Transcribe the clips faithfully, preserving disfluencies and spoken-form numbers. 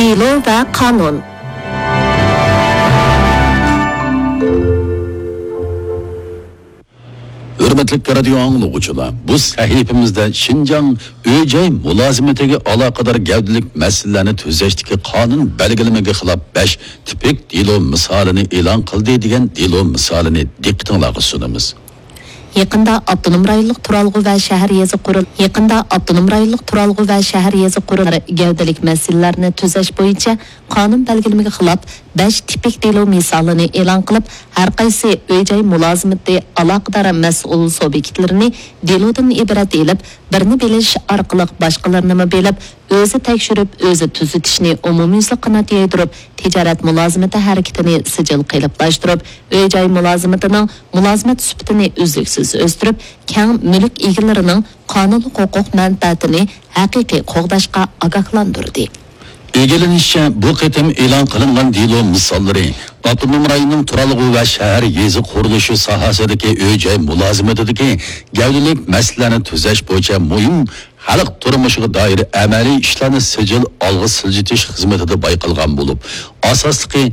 دېلو ۋە قانۇن. ھۆرمەتلىك رادىيو ئاڭلىغۇچىلار، بۇ سەھىپىمىزدە شىنجاڭ ئۆي-جاي مۇلازىمىتىگە ئالاقىدار گەۋدىلىك مەسىلىلەرنى تۈزەشتىكى قانۇن بەلگىلىمىگە خىلاپ بەش تىپىك دېلو مىسالىنى ئېلان قىلدى دېگەن دېلو مىسالىنى دىققىتىڭلارغا سۇنىمىز. يېقىندا ئاپتونوم رايونلۇق تۇرالغۇ ۋە شەھەر يېزا قۇرۇل-، يېقىندا ئاپتونوم رايونلۇق تۇرالغۇ ۋە شەھەر يېزا قۇرۇلتىيى گەۋدىلىك مەسىلىلەرنى تۈزەش بويىچە قانۇن بەلگىلىمىگە خىلاپ بەش تىپىك دېلو مىسالىنى ئېلان قىلىپ، ھەر قايسى ئۆي-جاي مۇلازىمىتى ئالاقىدار مەسئۇل سۇبيېكتلىرىنى دېلودىن ئىبارەت ئېلىپ، بىرنى بىلىش ئارقىلىق باشقىلىرىنىمۇ بىلىپ، ئۆزى تەكشۈرۈپ، ئۆزى تۈزىتىشنى ئومۇميۈزلۈك قانات يايدۇرۇپ، تىجارەت مۇلازىمىتى ھەرىكىتىنى سىجىل قېلىپلاشتۇرۇپ، ئۆي-جاي مۇلازىمىتىنىڭ مۇلازىمەت سۈپىتىنى ئۈزلۈكسىز ئۆستۈرۈپ، كەڭ مۈلۈك ئىگىلىرىنىڭ قانۇنلۇق ھوقۇق مەنپەئەتىنى ھەقىقىي قوغداشقا ئاگاھلاندۇردى. ئىگىلىنىشىچە، بۇ قېتىم ئېلان قىلىنغان دېلو مىساللىرى ئاپتونوم رايوننىڭ تۇرالغۇ ۋە شەھەر يېزا قۇرۇلۇشى ساھەسىدىكى ئۆي-جاي مۇلازىمىتىدىكى گەۋدىلىك مەسىلىلەرنى تۈزەش بويىچە مۇھىم خەلق تۇرمۇشىغا دائىر ئەمەلىي ئىشلارنى سىجىل ئالغا سىلجىتىش خىزمىتىدە بايقالغان بولۇپ، ئاساسلىقى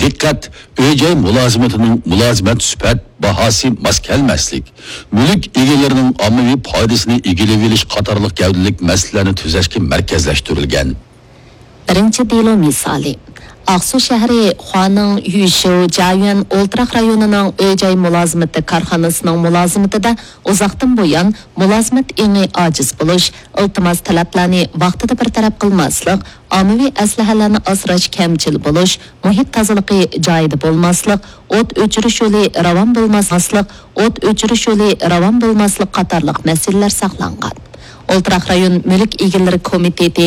دىققەت ئۆي-جاي مۇلازىمىتىنىڭ مۇلازىمەت سۈپەت باھاسى ماس كەلمەسلىك، مۈلۈك ئىگىلىرىنىڭ ئاممىۋى پايدىسىنى ئىگىلىۋېلىش قاتارلىق گەۋدىلىك مەسىلىلەرنى تۈزەشكە مەركەزلەشتۈرۈلگەن. بىرىنچى دېلو مىسالى. ئاقسۇ شەھىرى خۇانىڭ يۈشيۇ جيايۈەن ئولتۇراق رايونىنىڭ ئۆي-جاي مۇلازىمىتى كارخانىسىنىڭ مۇلازىمىتىدە ئۇزاقتىن بۇيان مۇلازىمەت ئېڭى ئاجىز بولۇش، ئىلتىماس تەلەپلەرنى ۋاقتىدا بىر تەرەپ قىلماسلىق، ئاممىۋى ئەسلىھەلەرنى ئاسراش كەمچىل بولۇش، مۇھىت تازىلىقى جايىدا بولماسلىق، ئوت ئۆچۈرۈش يولى راۋان بولماسلىق، ئوت ئۆچۈرۈش يولى راۋان بولماسلىق قاتارلىق مەسىلىلەر ساقلانغان. ئولتۇراق رايون مۈلۈك ئىگىلىرى كومىتېتى